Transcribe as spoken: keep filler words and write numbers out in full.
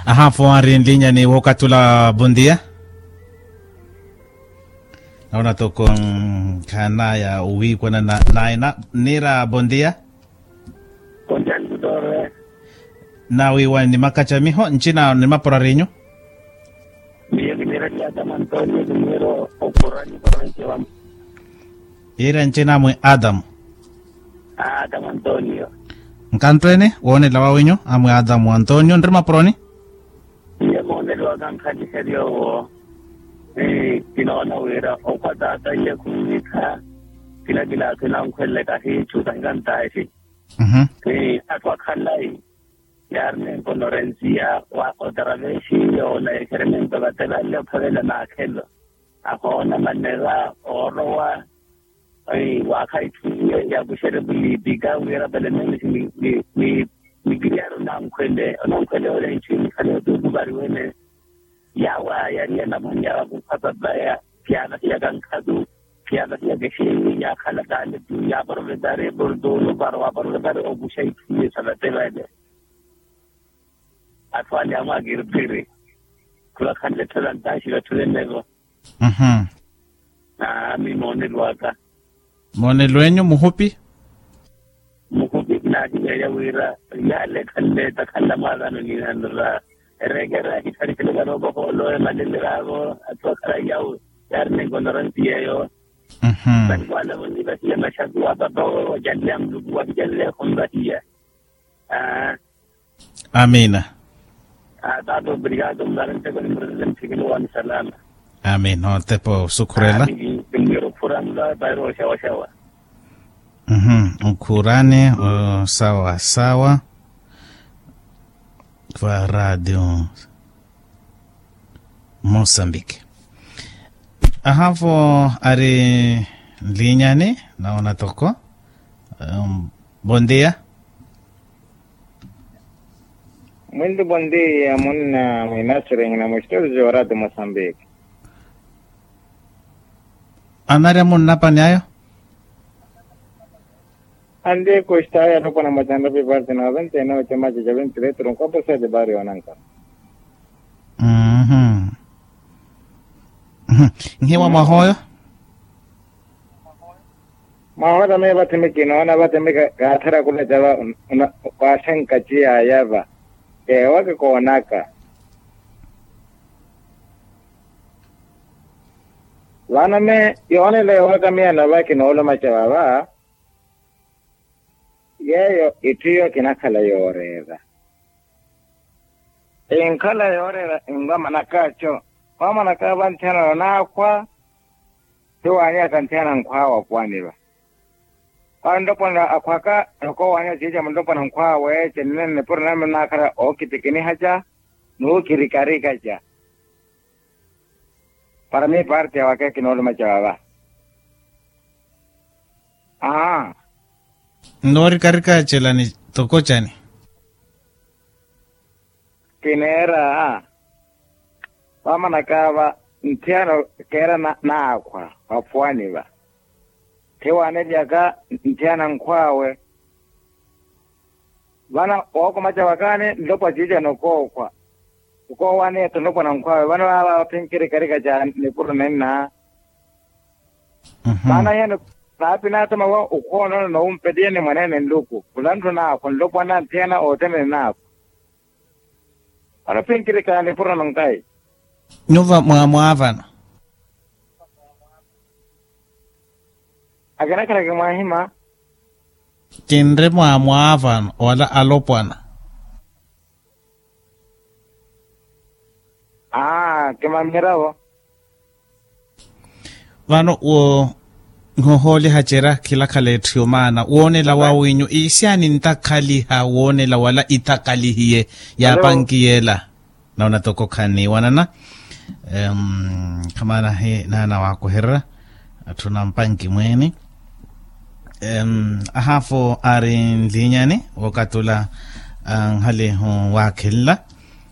Ahafu ari nlinyani wookatula bondia. Naona toko nkhanaya owiikwana na naina. Niira bondia. Konjandutor. Nawiiwani ni makacamiho ncina ni mapurarinyu. Miyo kiniira ni adamu antonio kiniira okurani korancewa. Iira ncina mwi adamu. Adamu antonio. Nkantwene woonela wawinyu amwi adamu antonio nri mapuroni. Iye moonelo waka nkhaliherya owo. Kinoona wira okhwa taata iye khunwikha. Kila kila akhina ankhwelele kahiichu kahikantaehi. Atthu akhalayi yaari nenkonorensiya wa otaravexi yoola exerementu vatevanle ophavela maakhelo. Ahoona manera oorowa. Waakha itthu iye yaakuxerye vuliipika wira pele meelesi ni kiriyaari onankhwele onankhwele ole itthu inikhale otuuku variwene. Yaawa yariya namwanya wakukhwa papaya. Kiyavahiyaka nkhatu kiyavahiyaka exeeni yaakhala taale tu yaaprovetari eportolo para waaprovetari okuxa itthu iye sa vatevale. Atthu ale amwaakiripiri khulakhanle tholantaaxi vatthu venevo. Aami moonelo aka. Moonelo enyu muhupi. Muhupi kinaakiveerya wira yale khanle takhanla mwaavano nihanra ereekera akittharikhele varooko hoolo emaleleraavo. Atthu akhala yawo yaari nenkonoransi yeeyo. Vanikwalavo nivahiya maxaku wa papa ocanleya muluku wakicanleya khonvahiya. Amiina. Taata obrigado murari nteko ni murerele nthikilo wani salama. Amiina otepa osukhurela. Kinwira okhurani va pairo oxawaxawa. Okhurani osawasawa. Va radio mosambiki. Ahavo ari nlinyani naona toko. Bondia. Mwinti bondia munna mwinasirihina mwistosi jorati mosambiki. Anarya munnapani ayo. Anti kustaaya alopwana mwa canrapi parte noventa y nove camaca ca ventiletro nkopo sete bario nanka. Nhiwa mwahoyo. Mwahoyo miyo vathi mikinoona vathi mikaathera kulaca va. Waaxenka ciyaya va. Ewa kikoonaka. Vano me yoonela ewaka miyano va kinoolomaca vava. Yeeyo itthu iyo kinakhala yooreera. Inkhala yooreera invamanakaco. Vamanaka va nthiyana naakhwa. Tiwaanyaka nthiyana nkhwawe apuwani va. Vano nlopwana akhwaka. Okoowaanya ciica mulopwana nkhwawe cinene nipuro nami naakhala ookitikinihaca. Nuukirikarikaca. Para miyo parte ya waka kinoolumaca vava. Aa. Nnoorikarika celani toko cani. Kineera vamanaka va nthiyana keera naakhwa vafuwani va. Thiwaanelyaka nthiyana nkhwaawe. Vano wookomaca wakaani nlopwa ciicana okookhwa. Okoowaani etthu nlopwa na nkhwaawe vano vaava phinkirikarika ca nipuro nenna. Maana hiyo naapi naatoma wa okhoonona noompeliya ni mwaneene nluku khula ntthu naakhwa nlopwana nthiyana othene naakhwa. Vano phinkirikana nipuro nonkayi. Nyuva mwaamwaavano. Akinakhala kimwaahima. Kinre mwaamwaavano wala alopwana. Aa kimamihiravo. Vano wo nhohooliha cera khilakhala etthu yomaana woonela wawinyu iisiyani ntakhaliha woonela wala itakalihiye yaapankiyeela. Naona toko khaniiwanana. Khamaana hi naana waakuherera. Atthu nampanki mweeni. Ahaafo ari nlinyani wookatula anhalihu waakhenla.